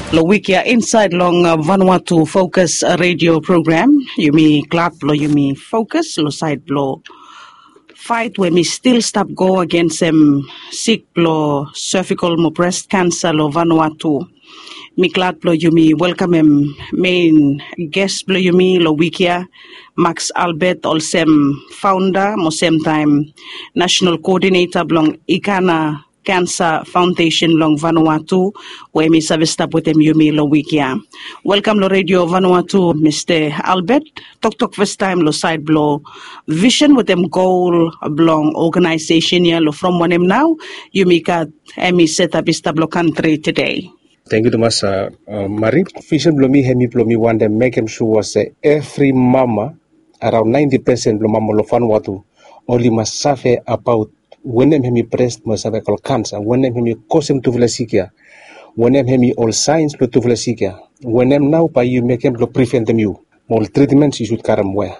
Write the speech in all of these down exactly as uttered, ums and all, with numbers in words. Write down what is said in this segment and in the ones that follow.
Long wik ya insaed long Vanuatu Fokus redio program, yumi glad blong yumi fokus long saed blong faet we mi stil stap go agensem sik blong sevikol mo brest kansa long Vanuatu. Mi glad blong yumi welkamem mein ges blong yumi long wik ya, Max Albert, olsem faonda mo semtaem nasenal koodineta blong Ikana Kansa Faondesen long Vanuatu, we mi save stap wetem yumi long wik ya. Welkam long redio Vanuatu, Mista Albert. Toktok fastaem long saed blong visen wetem gol blong oganaesesen ya long from wanem nao yumi gat hemi setap i stap long kantri tede. Tangkiu tumas, Mari. Visen blong mi hemi blong mi wantem mekem sua se evri mama, araon naenti pesen blong mama long Vanuatu, oli mas save abaot wanem hemi brest mo sevikol kansa, wanem hemi kosem tufala sik ya, wanem hemi ol saens blong tufala sik ya, wanem nao bae yu mekem blong priventem yu, mo ol tritmens yu sud karem wea.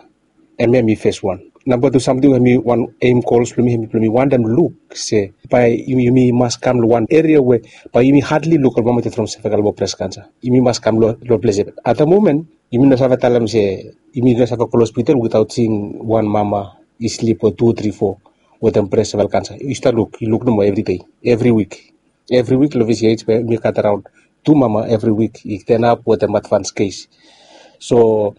Hemia hemi fes wan. Namba tu samting we hemi wan eim gols blong mi, hemi blong mi wantem luk se bae yumi mas kam long wan eria we bae yumi hadli luk ol mama i ded from sevikol mo brest kansa. Yumi mas kam long ples ya. At the moment yumi no save talem se yumi no save go long hospital witaot seeing wan mama i slip o tu, tri, fo wetem brest sevikol kansa. Yu stap luk, yu luk nomo evri dei, evri wik. Evri wik long V C H we mi gat araon tu mama evri wik i tenap wetem advans kes. So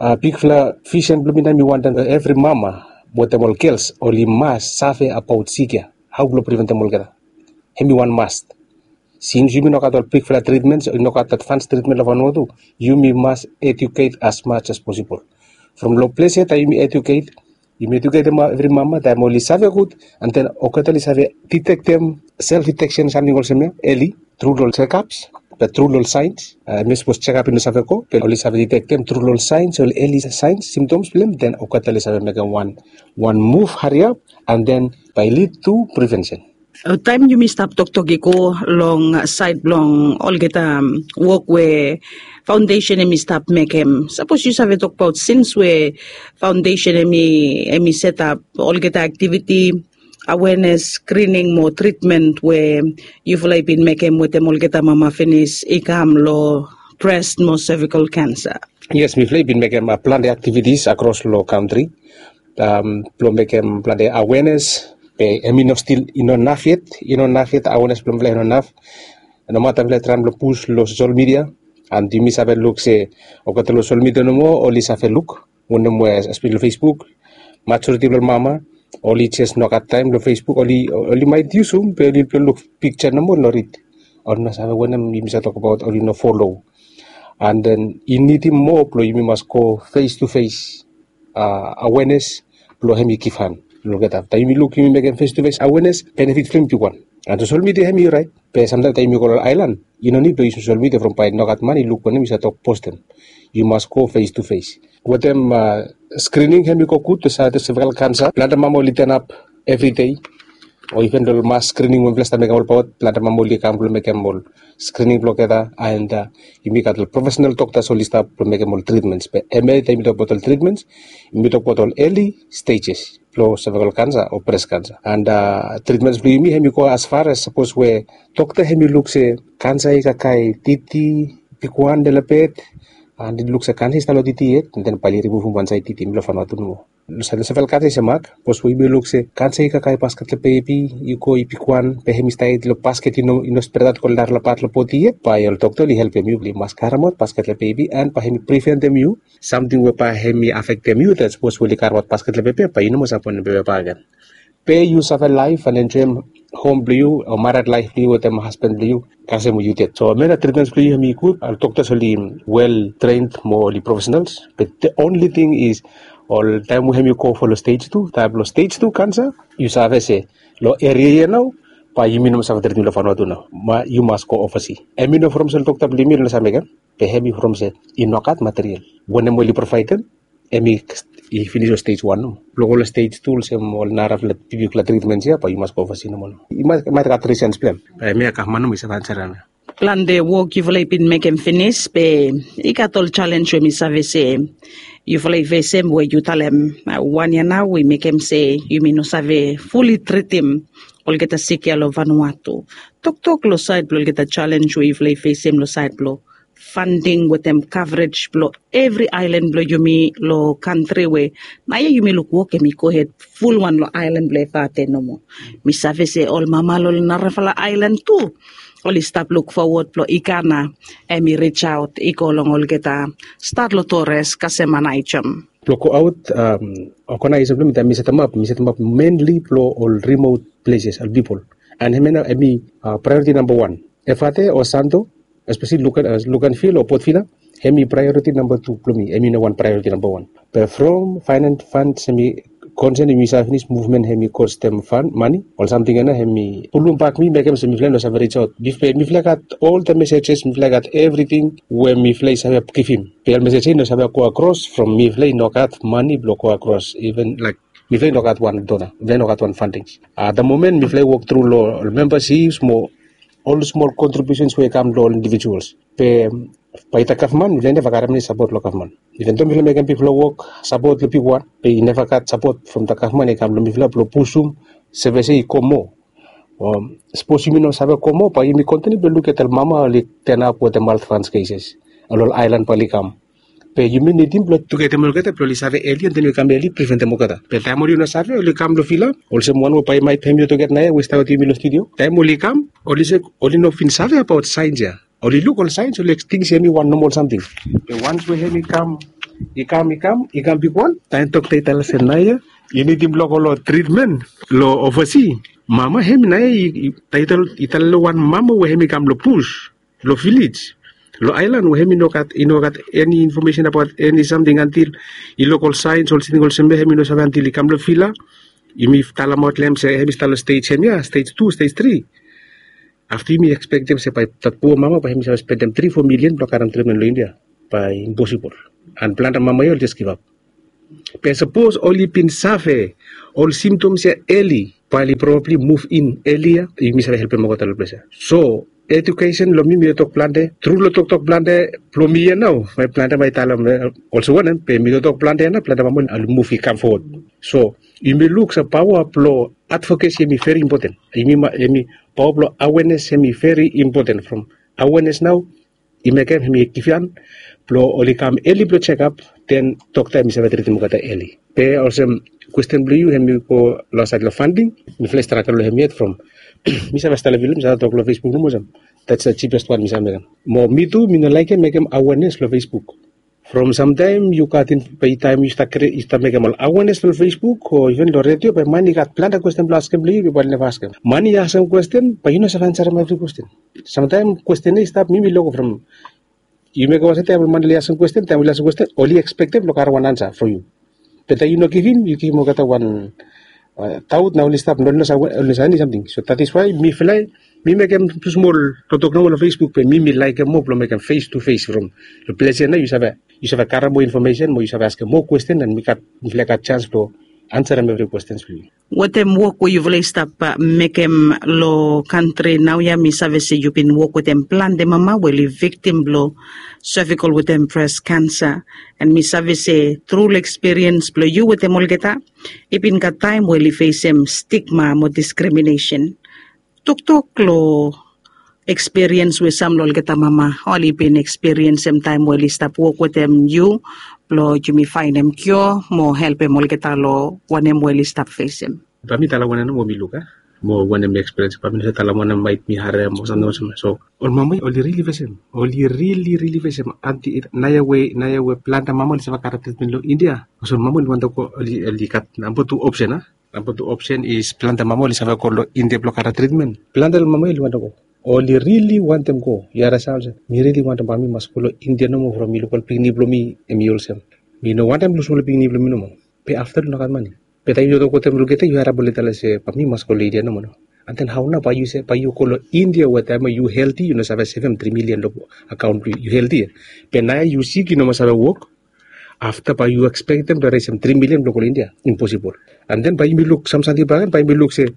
bigfala visen blong mi nao mi wantem evri mama wetem ol gels oli mas save abaot sik ya, hao blong priventem olgeta. Hemi wan mast. Sins yumi no gat ol bigfala tritmens, i no gat advans tritmen long Vanuatu, yumi mas eduket as much as posibol. From long ples ya taem yumi eduket, yumi eduketem evri mama, taem oli save gud, and then olgeta oli save ditektem self diteksen, samting olsem ya, eli tru long ol checkups, be tru long ol saens. Hemi sapos checkup i no save go, be oli save ditektem tru long ol saens, ol eli saens, symptoms blong hem, then olgeta oli save mekem wan, wan muv hariap, and then bae lid tu privensen. Taem yumi stap toktok i go long saed blong olgeta wok we faondesen hemi stap mekem, sapos yu save tokbaot sins we faondesen hemi, hemi setap olgeta aktiviti, awenes, skrining mo tritmen we yufala i bin mekem wetem olgeta mama finis i kam long brest mo sevikol kansa. Yes, mifala i bin mekem plante aktivitis akros long kantri blong mekem plante awenes, be hemi no stil, i no naf yet, i no naf yet, awenes blong mifala i no naf. Nomata mifala i traem blong pus long sosel midia, and yumi save luk se olgeta long sosel midia nomo oli save luk wanem we, espeseli long Facebook, majoriti blong ol mama oli jes no gat taem long Facebook, oli, oli maet yusum be oli blong luk piksa nomo, oli no rid. Oli no save wanem yumi save tokbaot, oli no folo. And then i nidim moa blong yumi mas go fes tu fes awenes blong hemi givhan long olgeta. Afta yumi luk yumi mekem fes tu fes awenes, benefit blong yumi bigwan. And sosel midia hemi oraet, be samtaem taem yumi go long aelan i no nid blong yusum sosel midia from bae nogat man i luk wanem yu save tok postem. Yu mas go fes tu fes. Wetem skrining hemi go gud, sevikol kansa, plante mama oli tenap evri dei. O iven long mas skrining we mifala stap mekem olbaot, plante mama oli kam blong mekem ol skrining blong olgeta, and yumi gat ol profesenal doktas oli stap blong mekem ol tritmens. Be hemia taem yumi tokbaot ol tritmens, yumi tokbaot ol eli stejes blong sevikol kansa o brest kansa. And tritmens blong yumi hemi go as far as sapos we dokta hemi luk se kansa i kakae titi, bigwan, lelebet, and i luk se kansa i stap long titi yet, and then bae oli rimuvum wan saed titi, hemi long Vanuatu nomo. Long saed long sevikol kansa i se mak, sapos we yumi luk se kansa i kakae basket long bebi, i go i bigwan, be hemi stap long basket, i no, i no spredaot go long narafala pat long bodi yet, bae ol dokta oli helpem yu blong yu mas karemaot basket long bebi, and bae hemi priventem yu samting we bae hemi afektem yu, that sapos we oli karemaot basket long bebi, bae yu no moa save bonem bebi bakegen. Be yu save laef and enjoem hom blong yu o mared laef blong yu wetem hasban blong yu kasem we yu ded. So hemia na tritmens blong yu hemi gud. Ol doktas oli wel tren mo oli profesenals. Be the only thing is, ol taem we hemi go fo long stej tu, taem blong stej tu kansa, yu save se long eria ya nao bae yumi no moa save tretem long Vanuatu nao. Yu mas go ovasi. Hemi no from se ol dokta blong yumi oli no save mekem, be hemi from se i nogat material. Wanem we oli provaedem, hemi i finis long stej wan nomo. Blong go long stej tu olsem ol narafala bigbigfala tritmens ya, bae yu mas go ovasi nomo. I maet gat risens blong hem. Be hemia gavman nomo i save ansarem. Plante wok yufala i bin mekem finis, be i gat ol jalenj we mi save se Yufala i fesem we yu talem wan ya nao i mekem se yumi no save fuli tritim olgeta sik ya long Vanuatu. Toktok long sait blong olgeta jalenj we yufala i fesem long sait blong fanding wetem kavrej blong evri aelan blong yumi long kantri we naoia yumi luk wok em i gohed fulwan long aelan blong Efate nomo. Mi save se ol mama long narafala aelan tu oli stap luk fowod blong Ikana em i rijaot i go long olgeta stat long Tores kasem Aneityum. Blong go aot, ogenaesesen blong mi taem mi setemap mi setemap menli blong ol rimot pleses ol pipol. And hemia nao em i praeoriti namba wan. Efate o Santo, espeseli Luganvil o Port Vila, em i praeoriti namba tu blong mi, em i no wan praeoriti namba wan. Be from faenan fans em i konsen yumi save finis muvmen em i kostem fan mane ol samting ya nao em i pulum bak mi mekem se mifala i no save rijaot. Be mifala i gat ol the mesejes, mifala i gat evriting we mifala i save givim. Be ol mesej ya i no save go akros from mifala i no gat mane blong go akros even laik mifala i no gat wan dona, mifala i no gat wan fandings. At the moment mifala i wok tru long ol membasips mo ol smol kontribiusens we i kam long ol indivijuals. Be bae the gavman mifala i neva gat eni sapot long gavman. Iven do mifala i mekem bigfala wok sapot long bigwan, be i neva gat sapot from the gavman i kam long mifala blong pusum sevis ya i go moa. Sapos yumi no save go moa bae yumi kontiniu blong lukim ol mama oli tenap wetem maltranskeises. Ol ol aelan bae oli kam. Be yumi nidim blong tugetem olgeta blong oli save eli and then oli kam eli priventem olgeta. Be taem oli no save oli kam long Vila olsem wan we bae maet hem yu olgeta naoia we i stap wetem yumi long studio, taem oli kam oli se oli no bin save abaot saens ya. Oli luk ol saens oli ekting se hem i wan nomol samting. Be wans we hem i kam i kam i kam i kam bigwan, taem dokta i talem se naoia yu nidim blong go long tritmen long ovasi. Mama hem naoia i talem long wan mama we hem i kam long bus, long vilej, long aelan we hem i no gat i no gat eni infomesen abaot eni samting antil i luk ol saens ol samting olsem ya hem i no save antil i kam long Vila. Yumi talemaot long hem se hem i stap long stej hemia, stej tu, stej tri. Afta yumi ekspektem se bae dat pua mama bae hem i save spendem tri fo milian blong karem tritmen long India. Bae imposibol. And plante mama ya oli jes givap. Be sapos oli bin save ol simtoms ya eli bae oli probabli muv in eli ya yumi save helpem olgeta long ples ya. So edukesen long mi mi tok plante tru long toktok plante blong mi ya nao bae plante bae i talem olsem wanem be mi tok plante ya nao plante mama oli muv i kam fowod. So yumi luk se paoa blong advokesi hem i veri impoten. Yumi paoa blong awenes hem i veri impoten from awenes nao i mekem hem i givhan blong oli kam eli blong jekap, den dokta hem i save tritim olgeta eli. Be olsem kwesten blong yu hem i go long saed long fanding. Mifala i stragel long hem yet from mi save stap long Vila mi save tok long Facebook nomo olsem that's the cheapest one mi save mekem. Mo mi tu mi no laekem mekem awenes long Facebook. From samtaem yu gat in bae taem yu stap mekem ol awenes long Facebook o iven long redio bae man i gat plante kwesten blong askem long yu be bae oli neva askem. Man i askem kwesten bae yu no save ansarem evri kwesten. Samtaem kwesten ya i stap mi mi loko from yu mekem olsem taem ol man oli askem kwesten taem oli askem kwesten oli ekspektem blong karem wan ansa from yu. Be taem yu no givim yu givim olgeta wan taot nao oli stap no oli no save eni samting. So that is why mifala mi mekem tu smol toktok nomo long Facebook be mi mi laekem moa blong mekem fes tu fes from long ples ya nao yu save yu save karem moa infomesen mo yu save askem moa kwesten and mifala i gat jans blong ansarem evri kwestens blong yu. Wetem wok we yufala i stap mekem long kantri naoia mi save se yu bin wok wetem plante mama we oli viktim blong sevikol wetem bres kansa. And mi save se tru long ekspiriens blong yu wetem olgeta i bin gat taem we oli fesem stigma mo diskriminesen. Toktok long ekspiriens we sam long olgeta mama oli bin ekspiriensem taem we oli stap wok wetem yu blong yumi faenem kio mo helpem olgeta long wanem we oli stap fesem. Bae mi talem wanem nomo mi luk a mo wanem mi ekspiriens bae mi no save talem wanem maet mi harem o samting olsem. So ol mama oli rili fesem oli rili rili fesem anti naoia we naoia we plante mama oli save karem tritmen long India. Olsem mama oli wantem go oli gat namba tu opsen a namba tu opsen is plante mama oli save go long India blong karem tritmen. Plante long mama oli wantem go oli rili wantem go. Yu haresa olsem mi rili wantem bae mi mas go long India nomo from mi luk ol pikinini blong mi hem i olsem. Mi no wantem lusim ol pikinini blong mi nomo. Be afta oli no gat mane. Be taem yu tok wetem olgeta yu harap oli talem se bae mi mas go long India nomo no. And then hao nao bae yu se bae yu go long India we taem we yu helti yu no save sevem tri milian long akaon blong yu yu helti ya. Be naoia yu sik yu no moa save wok. Afta bae yu ekspektem blong resem tri milian blong go long India? Imposibol. And then bae yumi luk sam samting bakegen bae yumi luk se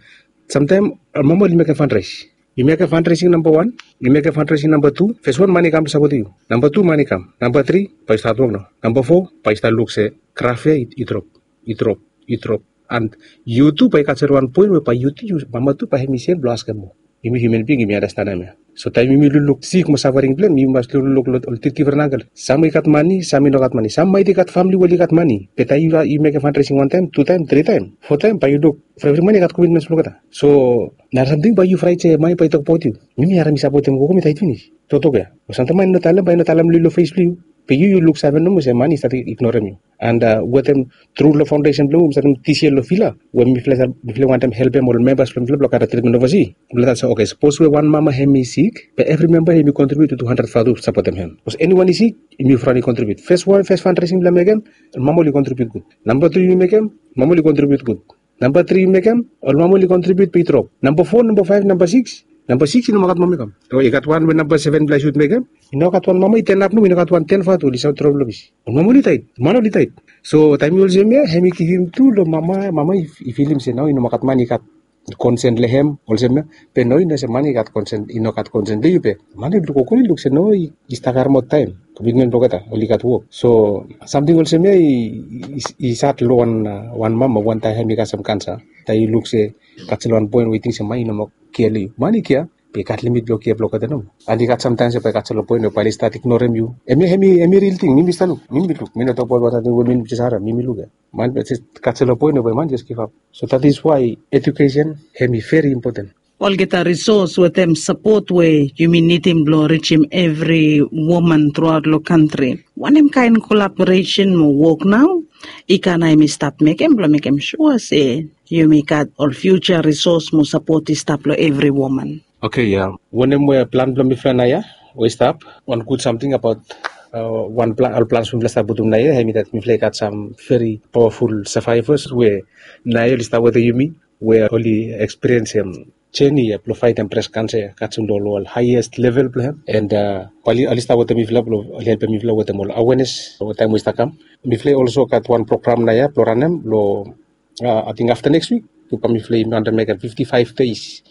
samtaem mama oli mekem fanraes. Yu mekem fundraising namba wan, yu mekem fundraising namba tu. Fes wan, mani i kam blong sapotem yu. Namba tu, mani i kam. Namba tri, bae yu stat wok nao. Namba fo, bae yu stat luk se graf ya i drop, i drop, i drop. And yu tu bae i gat sel wan poen we bae yu tu, yu mama tu, bae hemi sem blong askem moa. Yumi human being, yumi andastanem ya. So taem yumi lukluk sik mo safering blong hem, yumi mas lukluk long ol difren angle. Sam i gat mani, sam i no gat mani. Sam maet i gat famili we oli gat mani. Be taem yu mekem fundraising wan taem, tu taem, tri taem, fo taem, bae yu luk from evri mani i gat komitmens blong olgeta. So nara samting bae yu fraet se mani bae i tokbaot yu. Yumi harim i sapotem gogo, mi taet finis. Toktok ya. Be samtaem mani i no talem, bae i no talem long yu long fes blong yu. Be yu yu luksave nomo se mani i stat ignorem yu. And wetem tru long faondesen blong yumi, mi satem dis yia long vila we mifala wantaem helpem ol membas blong mifala blong karem tritmen ovasi. Mifala talem se, oke, sapos we wan mama hemi sik, be evri memba hemi kontribut tu tu handred vatu blong sapotem hem. Sapos eniwan i sik, yumi front i kontribut. Fes wan, fes fundraising blong mekem, ol mama oli kontribut gud. Namba tu yu mekem, mama oli kontribut gud. Namba tri yu mekem, ol mama oli kontribut be i drop. Namba fo, namba faef, namba sikis, namba sikis i no moa gat mama i kam. O i gat wan we namba seven blong yu sud mekem, i no gat wan mama i tenap nomo, i no gat wan ten vatu oli save drop long pis. Ol mama oli taet, man oli taet. So taem i olsem ya, hemi givim tru long mama, mama i filim se nao i no moa gat man i gat konsen long hem olsem ya. Be no, i no se man i gat konsen, i no gat konsen long yu, be man i luk, gogo i luk se no, i stap karemaot taem, komitmen blong olgeta, oli gat wok. So samting olsem ya i sad long wan mama wantaem hemi kasem kansa. Taem i luk se gat sel wan poen we i ting se man i no moa kea long yu. Man i kea, be i gat limit blong kea blong olgeta nomo. And i gat samtaem se bae i gat sel wan poen we bae oli stat ignorem yu. Hemia hemi ril ting, mi mi stap luk, mi mi luk, mi no tokbaot wan samting we mi mi jes harem, mi mi luk ya. Man, be jes gat sel wan poen we bae man jes givap. So that is why education hemi veri impoten. Olgeta risos wetem sapot we yumi nidim blong rijim evri woman truaot long kantri. Wanem kaen kolaboresen mo wok nao i gat na yumi stap mekem blong mekem sua se yumi gat ol fiuja risos mo sapot i stap long evri woman? Oke, ya, wanem we plan blong mifala naoia we i stap, wan gud samting abaot ol plans we mifala stap putum naoia, hemi dat mifala i gat sam veri pawaful savaevas we naoia oli stap wetem yumi, we oli ekspiriensim jeni ya blong faetem bres kansa ya kasem long ol haiest level blong hem. And oli stap wetem mifala blong oli helpem mifala wetem ol awenes we taem we i stap kam. Mifala i olso gat wan program naoia blong ranem long, ating afta neks wik, bae mifala i wantaem mekem fifti faef deis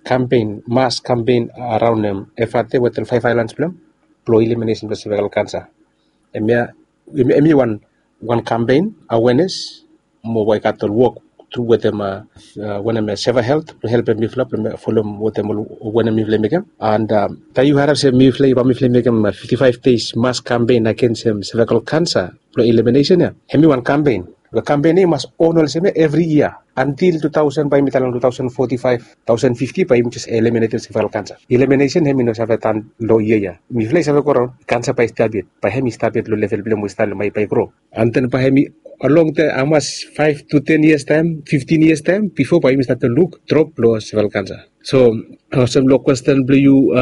kampen, mas kampen araon hem evate wetem faef aelans blong hem, blong eliminesen blong sevikal kansa. Hemia wan kampen, awenes, mo bae i gat ol wok tru wetem wanem, seva helt blong helpem mifala blong folem wetem wanem mifala i mekem. And taem yu harem se mifala, bae mifala i mekem fifti faef deis mas kampen agensem sevikal kansa blong eliminesen ya, hemi wan kampen. Be kampen ya i mas on olsem ya evri yia antil tu taosen, bae yumi talem tu taosen foti faef, taosen fifti, bae yumi jes eliminesen sevikal kansa. Eliminesen hemi no save tan long yia ya. Mifala i save goraon, kansa bae i stap yet, bae hemi stap yet long level blong hem we i stap long, bae i gro. And then bae hemi, along the hamas, faef tu ten yias taem, fiftin yias taem, bifo bae yumi stat luk drop blong sevikal kansa. So olsem long kwesten blong yu,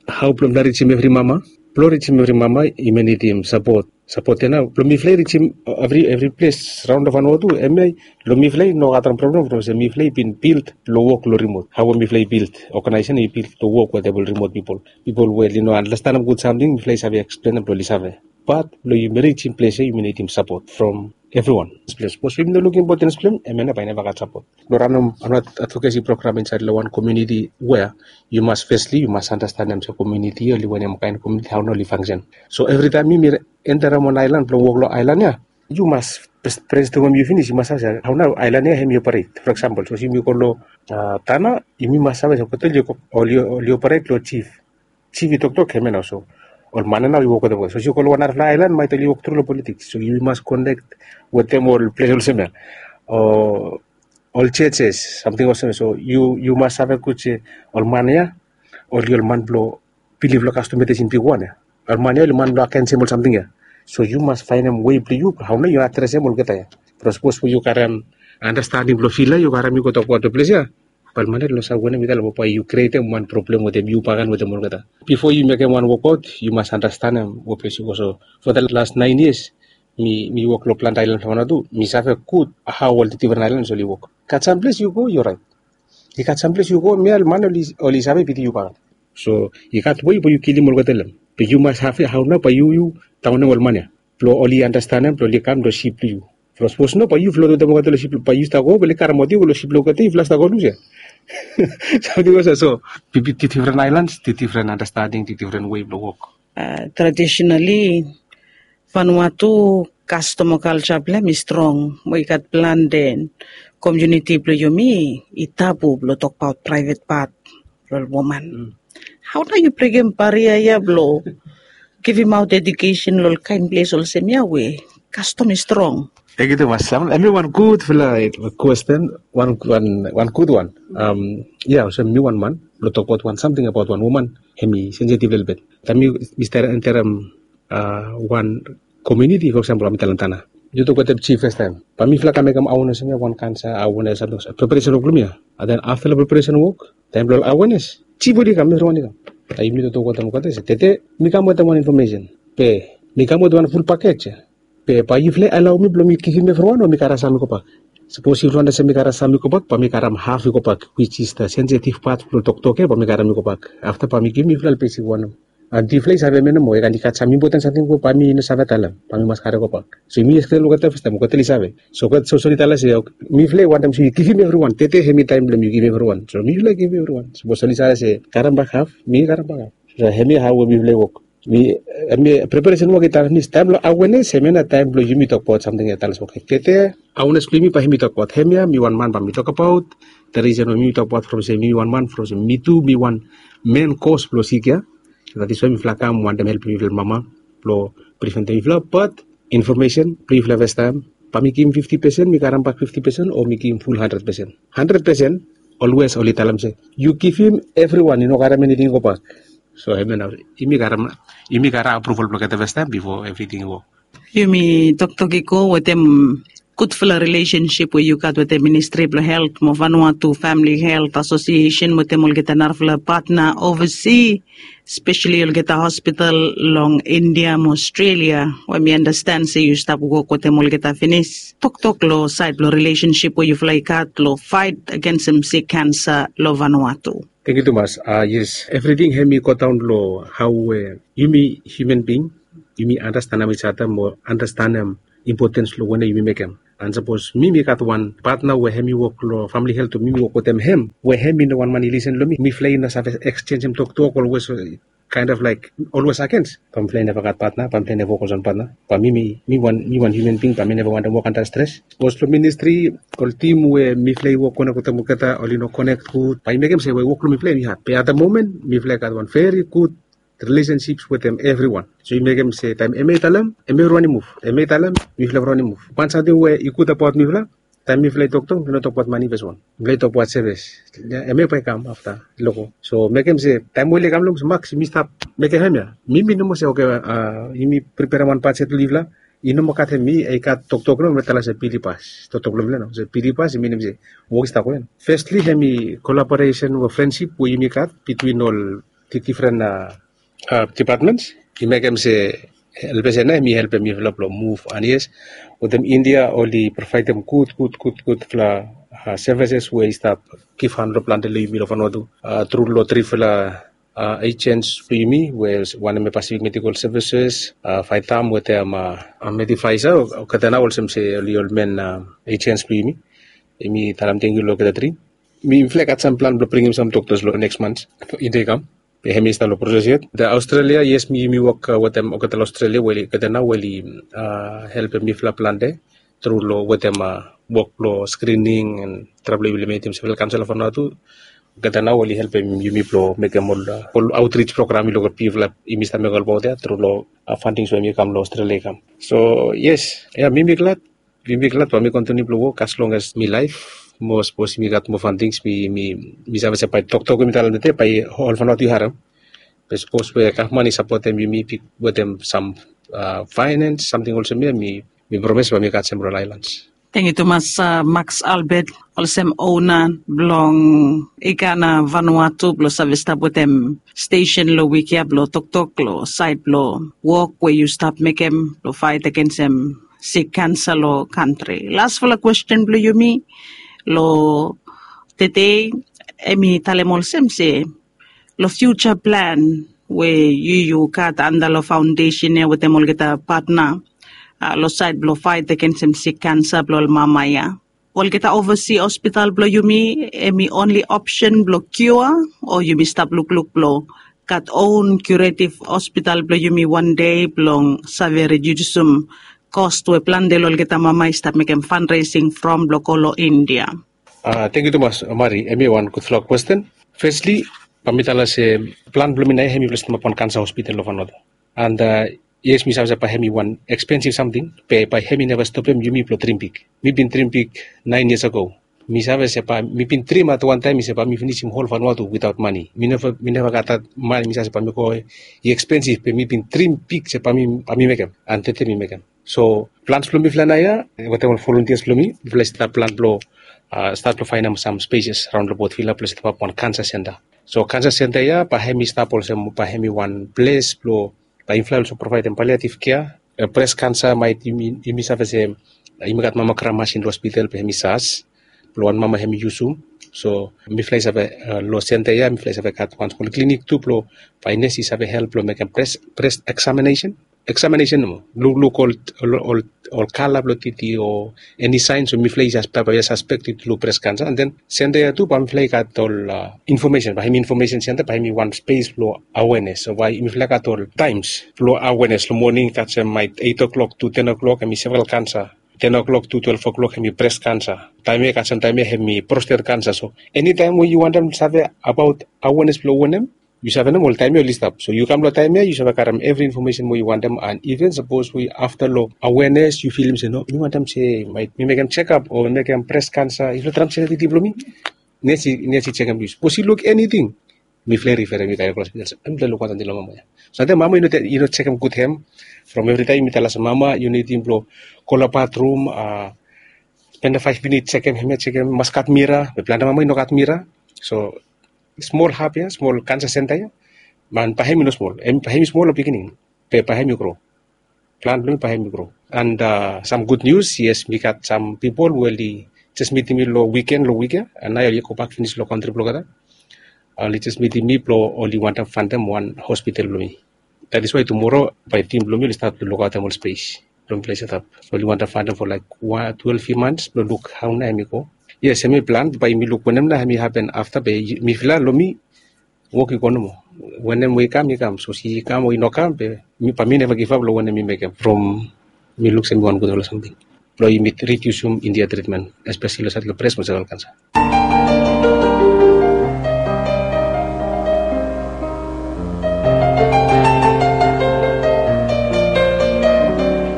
hao blong mifala rijim evri mama? Blong rijim evri mama yumi nidim sapot. Sapot ya nao blong mifala i rijim evri ples raon long Vanuatu. Hemia long mifala i no gat wan problem from olsem mifala i bin bilt blong wok long rimot. Hao we mifala i bilt oganaesen, i bilt blong wok wetem ol rimot pipol, pipol we oli no andastanem gud samting, mifala i save eksplenem blong oli save. Bat blong yumi rijim ples ya yumi nidim sapot from evriwan. Sapos yumi no lukim impotens blong hem, hemia nao bae i neva gat sapot. Blong ranem wan advokesi program insaed long wan komuniti wea yu mas fesli yu mas andastanem se komuniti ya oli wanem kaen komuniti, hao nao oli fangsen. So evritaem yumi enterem wan aelan blong wok long aelan ya, yu mas brenstomem yu finis, yu mas save se hao nao aelan ya hemi operate. For eksampol, sapos yumi go long Tanna, yumi mas save se olgeta oli operate long jif. Jif i toktok, hemia nao. So ol man ya nao i wok wetem olgeta. Sapos yu go long wan narafala aelan, maet oli wok tru long politiks. So yu mas konek wetem ol ples olsem ya, o ol jejes, samting olsem ya. So yu mas save gud se ol man ya oli ol man blong bilif long kastom medisin bigwan ya. Ol man ya oli man blong agensem ol samting ya. So yu mas faenem wei blong yu hao nao yu adresem olgeta ya. From sapos we yu karem andastandim blong fila, yu karem, yu go tokbaot long ples ya, bae ol man ya oli no save wanem i talem, o bae yu krietem wan problem wetem yu bakegen wetem olgeta. Bifo yu mekem wan wokbaot, yu mas andastanem we ples yu go. So for the last nine years mi wok long plante aelan blong Vanuatu, mi save gud hao ol difren aelans oli wok. Gat sam ples yu go, yu oraet. I gat sam ples yu go, hemia ol man oli save bitim yu bakegen. So i gat wei blong yu kilim olgeta long hem. Be yu mas save hao nao bae yu, yu daonem ol man ya blong oli andastanem blong oli kam long sip blong yu. From sapos no, bae yu flot wetem olgeta long sip, bae yu stap go, bae oli karemaot yu go long sip blong olgeta, yufala stap go lus ya. Samting olsem so, different islands, different understanding, different way blong wok. Traditionally, Vanuatu kastom o kalja blong hem i strong mo i gat plante komuniti blong yumi i tabu blong tokbaot praevet pat blong ol woman. Hau nao yu brekem baria ya blong givimaot edukesen long ol kaen ples olsem ya we kastom i strong? Tenkyu tumas. Em i wan gudfala kwesten, wan gud wan. Ya, olsem mi wan man blong tokbaot wan samting abaot wan woman, em i sensitive lelebet. Taem mi stap enterem wan komuniti, for example, bae mi talem Tanna, yu tok wetem jif fastaem, bae mifala kam mekem awenes, wan kansa awenes, samting olsem, preparesen wok blong mi ya. And then afta long preparesen wok, taem blong awenes, jif oli kam, evriwan i kam. Taem yumi toktok wetem olgeta se tede mi kam wetem wan infomesen, be mi kam wetem wan ful pakej ya. Be bae yufala i alaoem blong mi givim evriwan o mi karem sam i gobak? Sapos yufala wantem se mi karem sam i gobak, bae mi karem haf i gobak, which is the sensitive part blong toktok ya, bae mi karem i gobak. Afta bae mi givim yufala long besik wanem. And yufala i save mi nomo, i gat sam impoten samting we bae mi no save talem, bae mi mas karem i gobak. So yumi explain long olgeta fastaem, olgeta oli save. So olgeta solis oli talem se, mifala i wantem se yu givim evriwan, tede hemi taem blong yu givim evriwan. So mifala i givim evriwan. Sapos oli save se karem bak haf, mi karem bak haf. So hemi hao we mifala i wok. Mi, hemi preparesen wok i done finis. Taem blong awenes, hemia nao taem blong yumi tokbaot samting ya, talem se, oke, tede awenes blong yumi bae yumi tokbaot hemia. Mi wan man bae mi tokbaot the reason we mi tokbaot from se mi wan man, from se mi tu mi wan men kos blong sik ya. That is why mifala kam wantem helpem mifala mama blong preventem mifala. But infomesen blong yufala fastaem, bae mi givim fifti pesen, mi karem bak fifti pesen, o mi givim ful handred pesen? Handred pesen, olwes oli talem se yu givim evriwan, i no karem eniting i gobak. So hemia nao yumi karem, yumi karem apruval blong olgeta fastaem bifo evriting i wok. Yumi toktok i go wetem gudfala rilesensip we yu gat wetem Ministri blong Helt mo Vanuatu Famili Helt Asosiesen wetem olgeta narafala patna ovasi, speseli olgeta hospital long India mo Australia, we mi anastan se yu stap wok wetem olgeta finis. Toktok long saed blong rilesensip we yufala i gat long faet agensem sik kansa long Vanuatu. Tenkyu tumas. Yes, evriting hemi godaon long hao we yumi hiuman bing, yumi anastanem ijada mo anastanem impotens long wanem yumi mekem. And sapos mi mi gat wan patna we hemi wok long famili helt, o mi mi wok wetem hem we hemi no wan man i lisen long mi, mifala i no save eksenjem toktok, olwes kaen of laek olwes agens. Bae mifala i neva gat patna, bae mifala i neva wok olsem patna. Bae mi, mi wan hiuman bing, bae mi neva wantem wok antap stres. Sapos long ministri ol tim we mifala i wok konek wetem olgeta oli no konek gud, bae i mekem se we wok blong mifala i had. Be at the moment mifala i gat wan veri gud rilesensip wetem evriwan. So i mekem se taem hemia i talem, hemia evriwan i muv. Hemia i talem, mifala evriwan i muv. Wan samting we i gud abaot mifala, taem mifala i toktok, mifala i no tokbaot mane fes wan. Mifala i tokbaot sevis. Hemia bae i kam afta, i loko. So mekem se taem we oli kam long se, Maks, yumi stap mekem hemia. Mi mi nomo se, oke, yumi preperem wan bajet long yufala. I no moa gat hemia, i gat toktok nao we mi talem se bil i pas. Toktok blong mifala nao se bil i pas, i minim se wok i stap gohed. Festli hemi kolaboresen o frensip we yumi gat bitwin ol difren dipatmens, i mekem se helpesen nao hemi helpem mifala blong muv. And yes, wetem India oli provaedem gud gud gud gudfala sevises we i stap givhan long plante long yumi long Vanuatu tru long trifala ejens blong yumi, we wanem hem Pacific Medical Services, Vitam wetem Medifisa, olgeta nao olsem se oli ol men ejens blong yumi. Yumi talem tenkyu long olgeta tri. Mifala i gat sam plan blong bringim sam doktas long neks mans, India i kam. Be hemi stap long proses yet. The Australia, yes, mi, yumi wok wetem olgeta long Australia we olgeta nao we oli helpem mifala plante tru long wetem wok blong skrining and traem blong yumi mekem se mifala i kam long Vanuatu. Olgeta nao oli helpem yumi blong mekem ol, ol autrij program i long ol pipol yumi stap mekem olbaot ya tru long fandings we hemi kam long Australia i kam. So yes, ya, mi mi glad. Mi mi glad bae mi kontiniu blong wok as long as mi laef. Mo sapos mi gat moa fandings, mi, mi save se bae toktok we mi talem tede bae ol Vanuatu i harem. Be sapos we gavman i sapotem yumi bik wetem sam faenens, samting olsem ya, mi, mi promes bae mi gat sem ol aelans. Tenkyu tumas, Maks Albert, olsem ona blong Ikana Vanuatu, blong save stap wetem stesen long wik ya blong toktok long saed blong wok we yu stap mekem blong faet agensem sik kansa long kantri. Lasfala kwesten blong yumi long tede, hemi talem olsem se long fiuja plan we yu, yu gat anda long faondesen ya wetem olgeta patna long saed blong faet agensem sik kansa blong ol mama ya, Olgeta ovasi hospital blong yumi em i onli opsen blong kiua, o yumi stap lukluk blong gat on kiuretiv hospital blong yumi wan dei blong save ridiusim kos we plante long olgeta mama i stap mekem fanresing from blong go long India? Tengkiu tumas, Mari. Em i wan gudfala kwesten. Fesli, bai mi talem se plan blong mi nao ya em i blong setemap wan kansa hospital long Vanuatu. And yes, mi save se bai em i wan ekspensiv samting, be bai em i neva stopem yumi blong drim big. Mi bin drim big naen yias ago. Mi save se bai mi bin drim at wan taem se bai mi finisim hol Vanuatu witaot mane. Mi neva, mi neva gat dat mane, mi save se bai mi go i ekspensiv, be mi bin drim big se bai mi, bai mi mekem, and tede mi mekem. So plans blong mifala nao ya wetem ol volunteers blong mi, mifala i stap plan blong stat blong faenem sam speses raon long Port Vila blong setapap wan kansa senta. So kansa senta ya bai em i stap olsem bai em i wan ples blong, bai mifala olsem provaedem paliativ kea. Bres kansa maet yumi, yumi save se yumi gat mammogram masin long hospital be em i sas blong wan mama em i yusum. So mifala i save, long senta ya mifala i save gat wan smol klinik tu blong bai nes i save help blong mekem bres, bres eksaminesen. Eksaminesen nomo, lukluk ol, ol, ol kala blong titi o eni saen, so mifala i sas, bai bai i saspektem i luk bres kansa. And then senta ya tu bai mifala i gat ol infomesen, bai em i infomesen senta, bai em i wan spes blong awenes. So bai mifala i gat ol taems blong awenes. Long moning gat se maet eit o'klok tu ten o'klok em i seval kansa. Ten o'klok tu twelef o'klok em i bres kansa. Taem ya gat se taem ya em i prostet kansa. So enitaem we yu wantem save abaot awenes blong wanem, yu save nomo ol taem ya oli stap. So yu kam long taem ya yu save karem evri infomesen we yu wantem, and iven sapos we afta long awenes yu filim se no, mi wantem se maet mi mekem jekap o mekem bres kansa, yufala traem sekem titi blong mi. Nesi, nesi jekem yu. Sapos i luk eniting, mifala i riferem yu go long hospital. Em mifala i luk wantem long mama ya. So taem mama i no, i no jekem gud hem, from evritaem mi talem se mama yu nidim blong go long batrum, spendem faef minit jekem hem ya, jekem, mas gat mira. Be plante mama i no gat mira. So smol hap ya, smol kansa senta ya, man, bai em i no smol, em bai em i smol long beginning, be bai em i gro. Plan blong mi bai em i gro. And sam gud nius, yes, mi gat sam pipol we oli jes mitim mi long wiken, long wik ya, and nao oli gobak finis long kantri blong olgeta. Oli jes mitim mi blong oli wantem faenem wan hospital blong mi. That is why tumora bai tim blong mi oli stat blong lukaotem ol spes blong mifala i setap. So oli wantem faenem for like twelve mans blong luk hao nao em i go. Yes, em i plan, bai mi luk wanem nao em i hapen afta, be mifala long mi wok i go nomo. Wanem we i kam i kam, sapos i kam o i no kam, be mi, bai mi neva givap long wanem mi mekem from mi luk se em i wan gudfala samting blong yumi ridiusim India tritmen, espeseli long saed long bres mo seval kansa.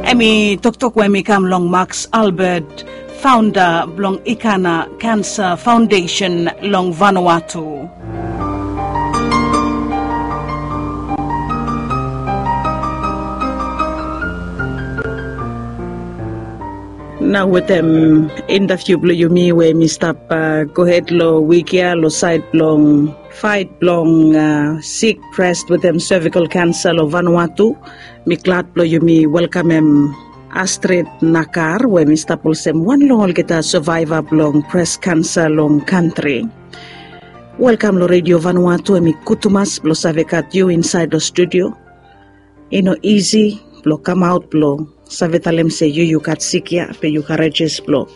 Em i toktok we em i kam long Max Albert, faonda blong Ikana Cancer Foundation long Vanuatu. Nao wetem intaviu blong yumi we mi stap gohed long wik ya long saed blong faet blong sik bres wetem cervical cancer long Vanuatu, mi glad blong yumi welkamem Astrid Nakar we mi stap olsem wan long olgeta savaeva blong bres kansa long kantri. Welkam long Redio Vanuatu, em i gud tumas blong save gat yu insaed long studio. I no isi blong kamaot blong save talem se yu, yu gat sik ya, be yu karajes blong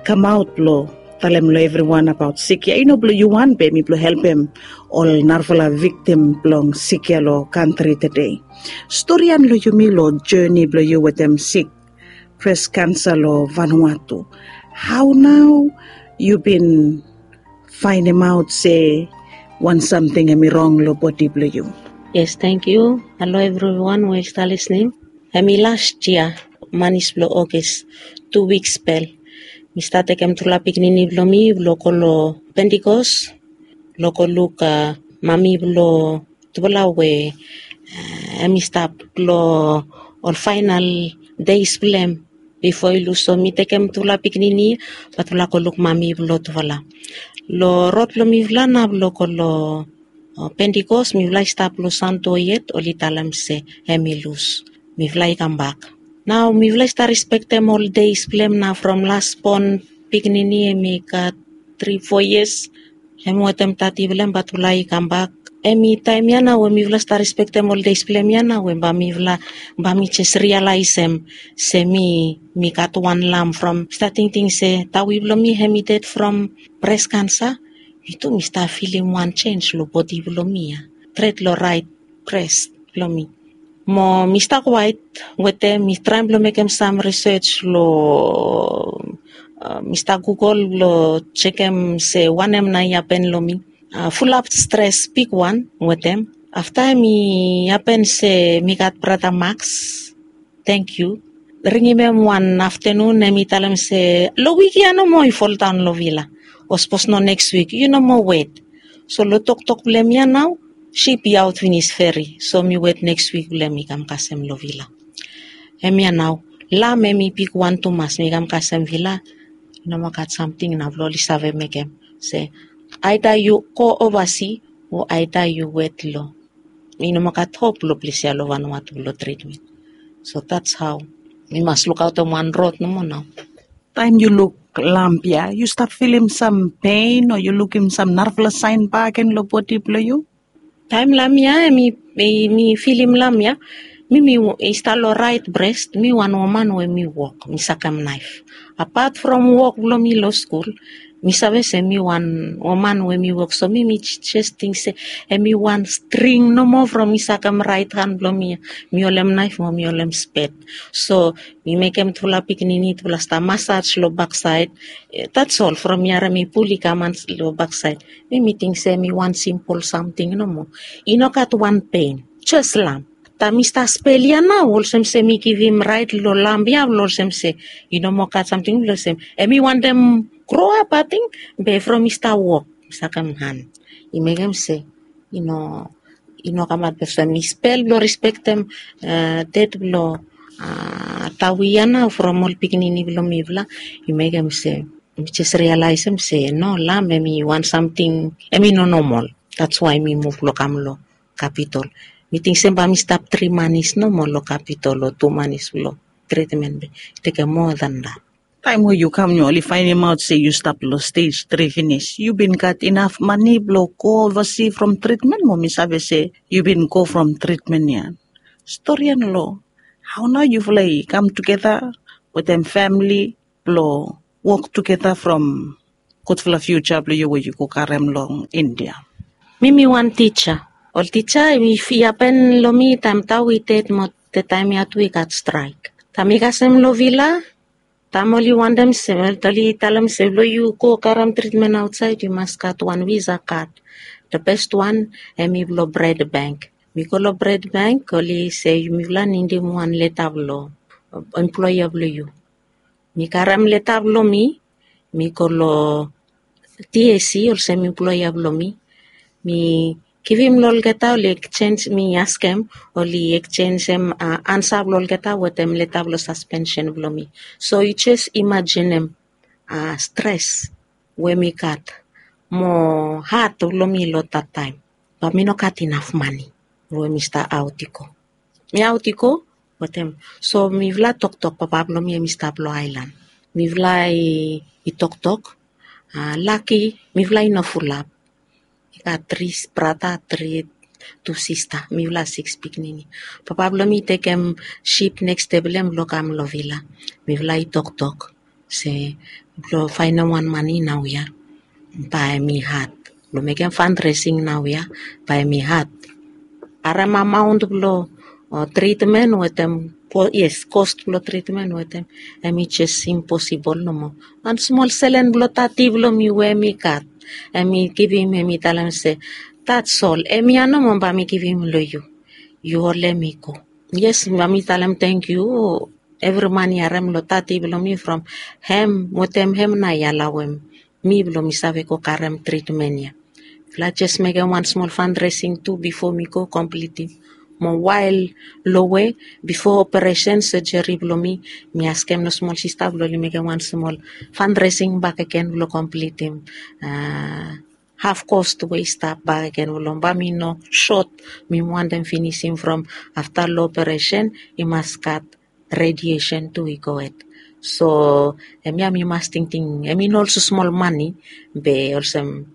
kamaot blong talem long evriwan abaot sik ya. I no blong yu wan, be em i blong helpem ol narafala viktim blong sik ya long kantri tede. Storian long yumi long joni blong yu wetem sik bres kansa long Vanuatu. Hao nao yu bin faenemaot se wan samting em i rong long bodi blong yu? Yes, tangkiu. Halo evriwan we i stap lisnim. Em i las yia, manis blong Ogis, tu wiks bel, mi stat tekem tufala pikinini blong mi blong go long Pentikos blong go luk mami blong tufala we em i stap long ol faenal deis blong em bifo i lus. So mi tekem tufala pikinini bae tufala go luk mami blong tufala. Long rod blong mifala nao blong go long Pentikos, mifala i stap long Santo yet, oli talem se em i lus. Mifala i kambak. Nao mifala i stap rispektem ol deis blong em nao from lasbon pikinini, em i gat tri fo yias, em wetem tati blong em, bae tufala i kambak Em i taem ya nao we mifala stap respektem ol deis blong em ya nao we bae mifala bae mi jes rialaesem se mi mi gat wan lam from stap tingting se tawi blong mi hem i ded from bres kansa. Mi tu mi stap filim wan sens long bodi blong mi ya, tret long raet bres blong mi. Mo mi stap kwaet wetem mi traem blong mekem sam risej long mi stap gugol blong sekem se wanem nao i hapen long mi. Fulap stres bigwan wetem afta em i hapen se mi gat brata maks, tengkiu, ringim em wan aftenun em i talem se long wik ya nomo i foldaon long vila. O sapos no neks wik yu no moa wet. So long toktok blong em ya nao sip i aot finis feri so mi wet neks wik blong em i kam kasem long vila. Em ya nao lam em i bigwan tumas mi kam kasem vila. I no moa gat samting nao blong oli save mekem se aeda yu go ovasi o aeda yu wet long i no moa gat hop long ples ya long vanua tu long tritmen. So dats hao mi mas lukaotem wan rod nomo nao. Taem yu luk lamp ya yu stap filim sam pein o yu lukim sam narafala saen bak gen long bodi blong yu? Taem lam ya em i mi filim lam ya mi mi i stap long raet bres mi wan woman we mi wok mi sakem naef. Apat from wok blong mi long skul mi save se mi wan woman we mi wok so mi mi jes ting se em i wan string nomo from mi sakem raet han blong mi ya. Mi holem naef mo mi holem spet. So mi mekem tufala pikinini tufala stap masaj long baksaed. Dats ol from mi harem i pul i kam long baksaed. Mi mi ting se mi wan simpol samting nomo. I no gat wan pen jes lam. Taem mi stap spel ya nao olsem se mi givim raet long lam ya blong olsem se i no moa gat samting blong olsem em i wantem groap ating. Be from mi stap wok mi sakem han i mekem se i no i no kamat olsem mi spel blong rispektem ded blong tawi ya nao from ol pikinini blong mifala. I mekem se mi jes rialaesem se no lam em i wan samting em i no nomol. Dats wae mi muv long kam long kapitol. Mi ting se bae mi stap tri manis nomo long kapitol o tu manis blong tritmen be i tekem moa dan dat. Taem we yu kam yu oli faenemaot se yu stap long stej tri finis yu bin gat inaf mane blong go ovasi from tritmen mo mi save se yu bin go from tritmen ya. Storian long hao nao yufala i kam tugeta wetem famili blong wok tugeta from gudfala fiuja blong yu we yu go karem long india. Mi mi wan tija. Ol tija i hapen long mi taem tawi ded mo detaem ya tu i gat straek. Taem i kasem long vila taem oli wantem se oli talem se blong yu go karem tritmen aotsaed yu mas gat wan visa kad. De best wan em i blong bred bank. Mi go long bred bank oli se mifala nidim wan leta blong emploea blong yu. Mi karem leta blong mi mi go long tiesi olsem emploea blong mi. Mi givim long olgeta oli eksenj mi askem oli eksenjem ansa blong olgeta wetem leta blong saspensen blong mi. So yu jes imajinem stres we mi gat mo hat blong mi long dat taem. Bat mi no gat inaf mane we mi stap aot i go. Mi aot i go wetem so mifala toktok papa blong mi em i stap long aelan. Mifala i toktok laki mifala i no fulap. I gat tri brata tri tu sista mifala siks pikinini. Papa blong mi i tekem sip neks de blong em blong kam long vila. Mifala i toktok se blong faenem wan mane naoia bae mi hat blong mekem fandresing naoia bae mi hat. Harem amaon blong tritmen wetem yes kost blong tritmen wetem em i jes imposibol nomo. Wan smol selen blong tati blong mi we mi gat em i givim em i talem se tats ol em ya nomo bae mi givim long yu. Yu holem i go. Yes bae mi talem tengkiu. Evri man i harem long tati blong mi from hem wetem hem nao i alawem mi blong mi save go karem tritmen ya. Mifala jes mekem wan smol fandresing tu bifo mi go komplitim mo wael lowe bifo operesen sejeri blong mi. Mi askem long smol sista blong oli mekem wan smol fandresing bakegen blong komplitim haf kost we i stap bakegen blong bae mi no sot. Mi wantem finisim from afta long operesen i mas gat rediesen tu i go hed. So em ya mi mas tingting em i no olsem smol mane be olsem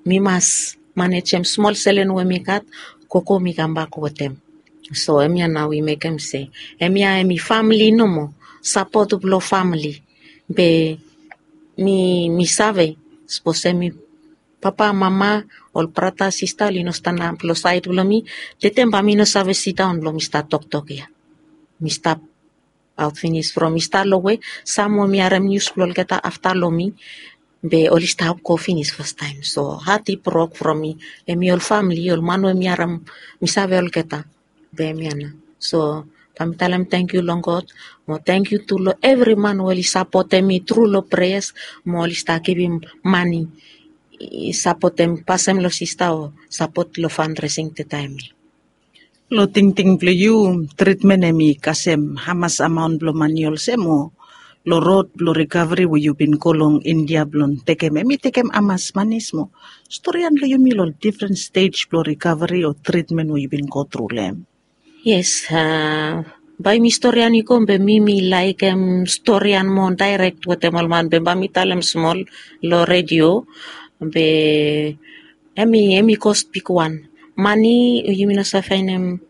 mi mas manejem smol selen we mi gat, gogo mi kambak wetem. So hemia nao i mekem se hemia hemi famili nomo, sapot blong famili. Be mi mi save, sapos hemi papa, mama, ol brata, sista oli no stanap long saed blong mi, tatem bae mi no save sidaon blong mi stap toktok ya. Mi stap aot finis from mi stap long we sam we mi harem nius blong olgeta afta long mi, be oli stap go finis fastaem. So hat i brok from mi, hemi ol famili, ol man we mi harem, mi save olgeta. Be hemia nao. So bae mi talem tangkiu long God, mo tangkiu tu long evri man we oli sapotem mi tru long preas, mo oli stap givim mane, i sapotem pasem long sista o sapot long fandresing tetaem ya. Long tingting blong yu, tritmen hemi kasem hamas amaon blong mane olsem, o long rod blong rikaveri we yu bin go long India blong tekem, hemi tekem hamas mane smol? Storian long yumi long difren stej blong rikaveri o tritmen we yu bin go tru long hem. Yes, a, bae mi storian i go be mi mi laekem storian moa daerek wetem ol man, be bae mi talem smol long redio, be hemi hemi kos bigwan. Mane yumi no save faenem,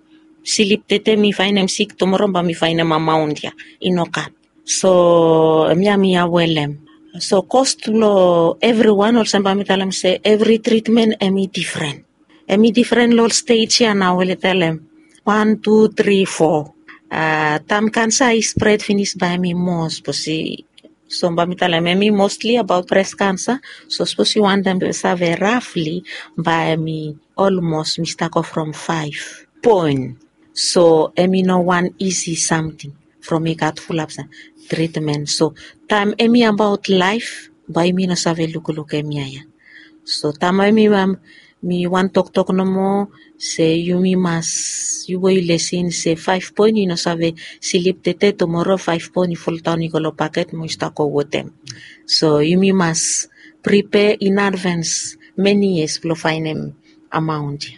slip tete mi faenem sik, tumoro bae mi faenem amaon ya, i no gat. So hemia mi aware long hem. So kos long evriwan, olsem bae mi talem se evri tritmen hemi difren. Hemi difren long ol stej ya nao we oli talem wan, tu, tri, fo. A, taem kansa i spred finis bae hemi moa, sapos i, so bae mi talem hemi mostli abaot bres kansa. So sapos yu wantem save rafli, bae hemi olmos mi stap go from faef poen. So hemi no wan isi samting from i gat fulap sam tritmen. So taem hemi abaot laef, bae yumi no save lukluk hemia ya. So taem hemi mi wan toktok nomo se yumi mas, yu we yu lisin se faef poen i no save slip tete, tumoro faef poen i foldaon i go long baket mo i stap go wetem. So yumi mas pripea in advance many years blong faenem amaon ya.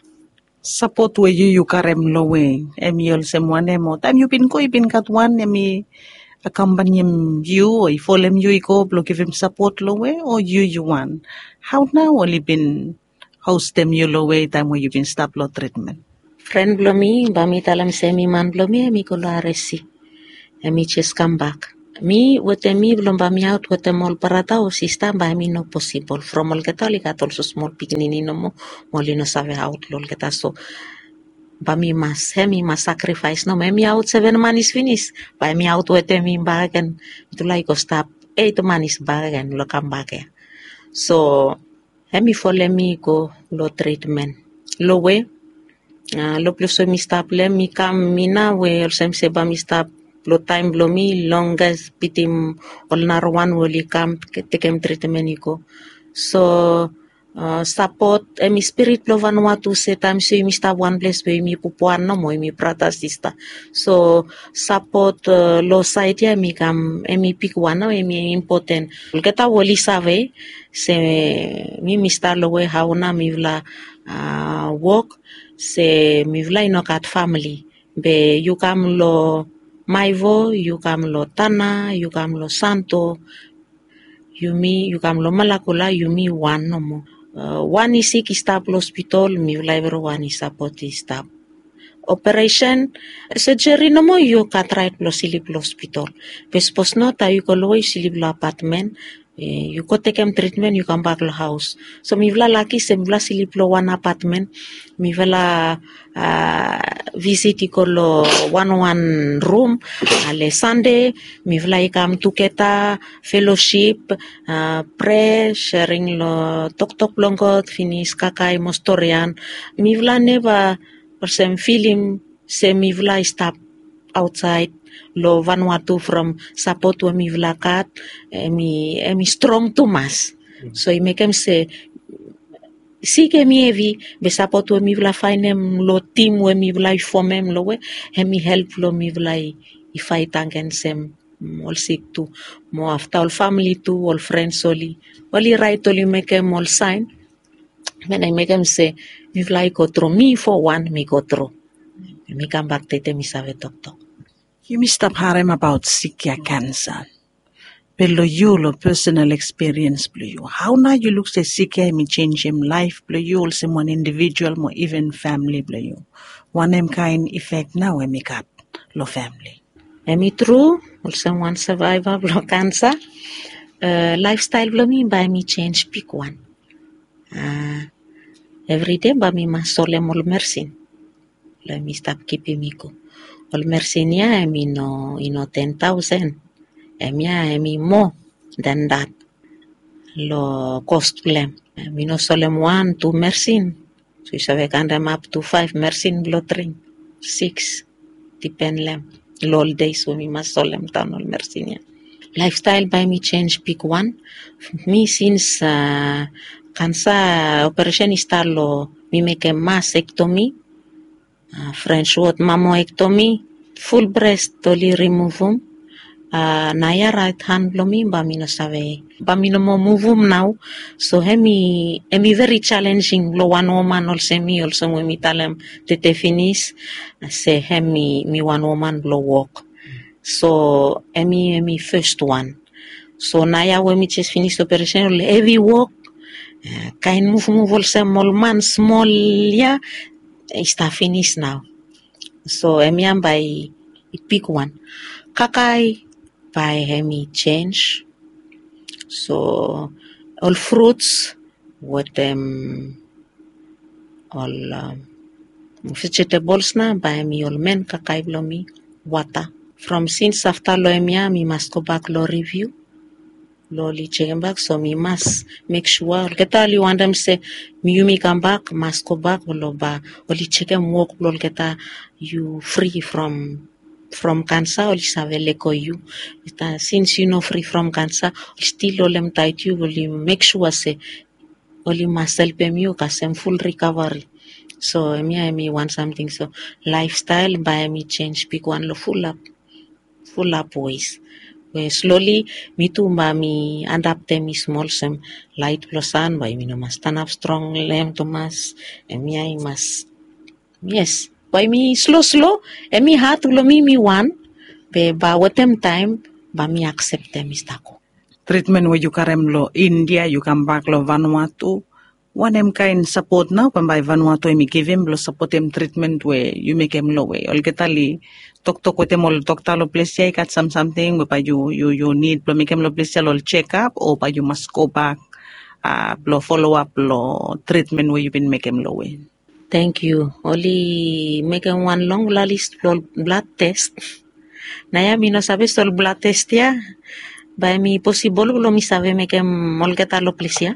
Sapot we yu yu karem long we hemi olsem wanem, o taem yu bin go i bin gat wan hemi akampanem yu o i folem yu i go blong givim sapot long we, o yu yu wan? Hao nao oli bin hostem yu long we taem we yu bin stap long tritmen? Fren blong mi, bae mi talem se hemi man blong mi, hemi go long R S C. Hemi jes kambak. Mi wetem mi blong bae mi aot wetem ol brata o sista, bae hemi no posibol from olgeta oli gat olsem smol pikinini nomo, mo oli no save aot long olgeta. So bae mi mas, hemi mas sakrifaes nomo. Hemi aot seven manis finis, bae hemi aot wetem mi bakegen, mitufala i go stap eit manis bakegen long kambak ya. So hemi folem mi i go long tritmen. Long we, a, long ples we mi stap long hem, mi kam, mi nao we olsem se bae mi stap long taem blong mi longest bitim ol narawan we oli kam tekem tritmen i go. So, a, sapot, hemi spirit blong Vanuatu se taem se yumi stap wan ples we yumi pupuan nomo, yumi brata sista. So sapot, a, long saed ya hemi kam, hemi bigwan nao, hemi impoten. Olgeta we oli save se mi mi stap long we hao nao mifala, a, wok, se mifala i no gat famili. Be yu kam long Maewo, yu kam long Tanna, yu kam long Santo, yumi, yu kam long Malakula, yumi wan nomo. A, wan i sik i stap long hospitol, mifala evriwan i sapot i stap. Operesen, sejeri nomo yu gat raet blong slip long hospitol. Be sapos no, taem yu go long we yu slip long apatmen, e, yu go tekem tritmen, yu kambak long haos. So mifala laki se mifala slip long wan apatmen. Mifala, a, visit i go long wanwan rum. Ale Sande mifala i kam tugeta, felosip, a, prea, serem long toktok blong God finis, kakae mo storian. Mifala neva olsem filim se mifala i stap aotsaed long Vanuatu from sapot we mifala gat, hemi, hemi strong tumas. So i mekem se sik hemi hevi, be sapot we mifala faenem long tim we mifala i fomem long we, hemi help long mifala i, i faet agensem, mm, ol sik tu. Mo afta ol famili tu, ol frens oli, oli raet, oli mekem ol saen. Be nao i mekem se mifala i go tru, mi fo wan mi go tru. Mi kambak tede mi save toktok. Yumi stap harem abaot sik ya, kansa. Be long yu, long personal ekspiriens blong yu, hau nao yu luk se sik ya hem i senjem laef blong yu olsem wan indivijual mo iven famili blong yu? Wanem kaen ifek nao hem i gat long famili? Hem i tru, olsem wan savaiva blong kansa, laefstael blong mi bae hem i senj bigwan. Evri dei bae mi mas solem ol mersin blong hem i stap kipim mi go. Ol mersin ya hem i no i no ten taosen. Hemia hem i moa dan dat long kos blong hem. Mi no solem wan tu mersin. So yu save kantem ap tu faef mersin blong dring, sikis, dipen long hem. Long ol deis we mi mas solem daon ol mersin ya. Laefstael bae mi senj bigwan. Mi sins kansa operesen i stap long mi mekem mas ektomi, frens wod mamo ektomi, ful brest oli rimuvum. Naoia raet han blong mi bae mi no save, bae mi no moa muvum nao. So hem i hem i veri jalenjing blong wan woman olsem mi, olsem we mi talem tete finis se hem mi mi wan woman blong wok. So hem i hem i fes wan. So naoia we mi jes finis operesen, ol hevi wok, kaen muvmuv olsem ol man smol ya i stap finis nao. So hemia bae i bigwan. Kakae bae hem i senj. So ol fruts wetem ol vejetebols nao bae hem i ol men kakae blong mi. Wata. From sins afta long hemia mi mas gobak long riviu blong oli jekembak. So mi mas mek sua olgeta oli wantem se yumi kambak mas gobak blong bae oli jekem wok blong olgeta. Yu fri from from kansa oli save lego yu. Sins yu no fri from kansa oli stil holem taet yu, oli mek sua se oli mas helpem yu kasem ful rikavari. So hemia hem i wan samting. So laefstael bae hem i senj bigwan long fulap fulap wes. We sloli mi tu bae mi adaptem mi smol olsem laet blong san bae yumi no mas stanap strong long hem tumas. Hemia i mas, yes, bae mi sloslo. Hem i hat blong mi mi wan, be bae wetem taem bae mi akseptem mi stap go. Tritmen we yu karem long India yu kambak long Vanuatu, wanem kaen sapot nao bambae Vanuatu hem i givim blong sapotem tritmen we yu mekem long we olgeta oli toktok wetem ol dokta long ples ya i gat sam samting we bae yu yu yu nid blong mekem long ples ya long ol jekap o bae yu mas gobak blong foloap long tritmen we yu bin mekem long we? Tangkiu. Oli mekem wan long lalis blong ol blad tes. Naoia mi no save se ol blad tes ya bae hem i posibol blong mi save mekem olgeta long ples ya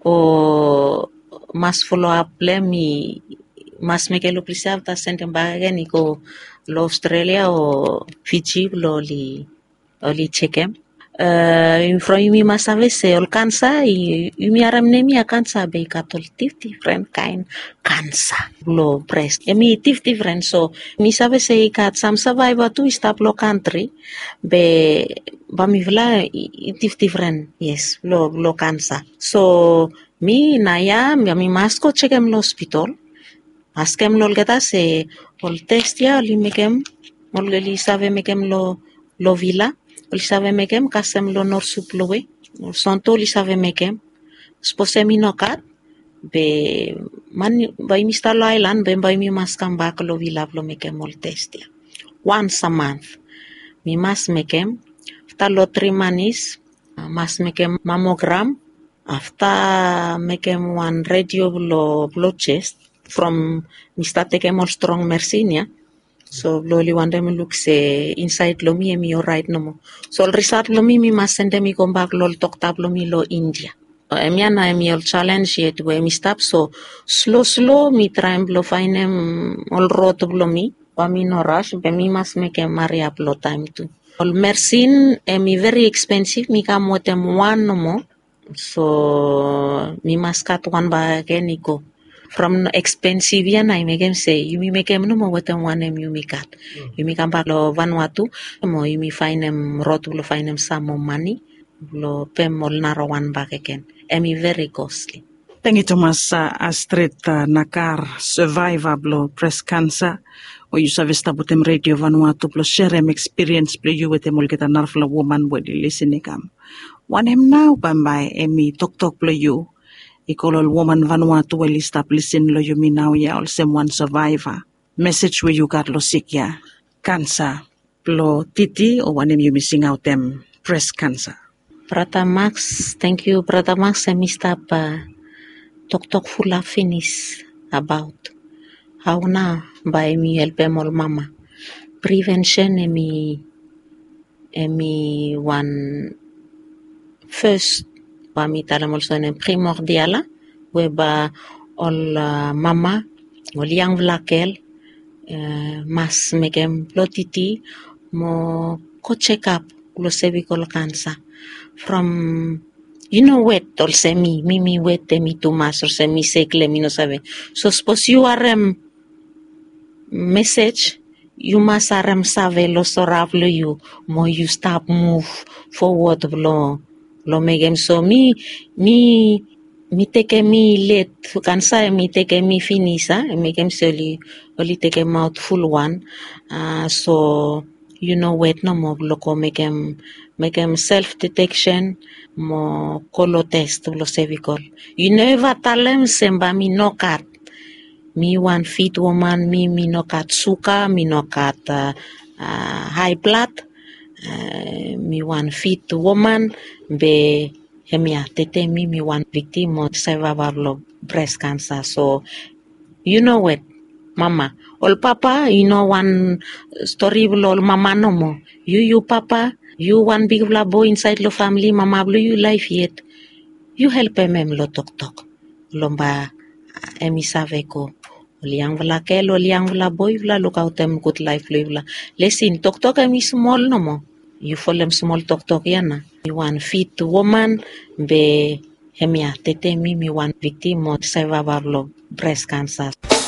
o mas foloap blong hem mi mas mekem long ples ya afta sendem bakegen i go long Australia o Fiji blong oli oli jekem. From yumi mas save se ol kansa yumi harem nem ya kansa be i gat ol difdifren kaen kansa blong bres. Hem i difdifren so mi save se i gat sam savaiva tu i stap long kantri be bamifala i difdifren, yes, blong kansa. So mi naoia mi mas go jekem long hospitol. Askem long olgeta se ol tes ya oli mekem, oli save mekem long vila, oli save mekem kasem long norsu blong we ol sonto oli save mekem. Sapos hem i no gat be man bae yumi stap long aelan be bae yumi mas kambak long vila blong mekem ol tes ya. Wans a mans mi mas mekem. Afta long tri manis mas mekem mamogram. Afta mekem wan redio blong jes from mi stat tekem ol strong mersin ya. So blong oli wantem luk se insaed blong mi hem i oraet nomo. So ol risat blong mi mi mas sendem i gobak long ol dokta blong mi long India. Hemia nao hem i ol jalenj yet we hem i stap. So sloslo mi traem blong faenem ol rod blong mi. Bae mi no ras be mi mas mekem hariap long taem tu. Ol mersin hem i veri ekspensiv, mi kam wetem wan nomo. So mi mas gat wan bakegen i go. From ekspensiv ya nao i mekem se yumi mekem nomo wetem wanem yumi gat. Yumi kambak long Vanuatu mo yumi faenem rod blong faenem sam moa mane blong pem ol narawan bakegen. Hem i veri kosli. Tangkiu tumas, Astrit Nakar, sevaiva blong bres kansa, we yu save stap wetem Redio Vanuatu blong serem ekspiriens blong yu wetem olgeta narafala woman we oli lisin i kam. Wanem nao bambae em i toktok blong yu i go long ol woman Vanuatu we oli stap lisin long yumi nao ya olsem wan sevaiva? Mesej we yu gat long sik ya, kansa blong titi, o wanem yumi singaotem, bres kansa. Brata Max, tangkiu. Brata Max em i stap toktok fulap finis abaot hao nao bae yumi helpem ol mama. Privensen em i em i wan fes, bae mi talem olsem wanem, primordial ya, we bae ol mama, ol yangfala gel mas mekem blotiti mo go jekap long sevikol kansa. From yu no wet olsem mi mi mi wet em i tumas olsem mi seklem i no save. So sapos yu harem mesej, yu mas harem save long sora blong yu mo yu stap muv fowod blong blong mekem so mi mi mi tekem mi let kansa em i tekem mi finis a em mekem se oli oli tekemaot fulwan. A so yu no wet nomo blong go mekem mekem self deteksen mo go long tes blong sevikol. Yu no eva talem se bae mi no gat mi wan fit woman mi mi no gat suga mi no gat a hai blad. Mi wan fit woman be hemia tete mi mi wan viktim o sevaiva blong bres kansa so yu no wet mama. Ol papa i no wan stori blong ol mama nomo. Yu yu papa yu wan bigfala boe insaed long famili mama blong yu laef yet. Yu helpem em long toktok long bae em i save go. Ol yangfala gel ol yangfala boe yufala lukaotem gud laef blong yufala. Lesin toktok em i smol nomo. Yu folem smol toktok ya na. Mi wan fit woman be hemia tete mi mi wan viktim o sevaiva blong bres kansa.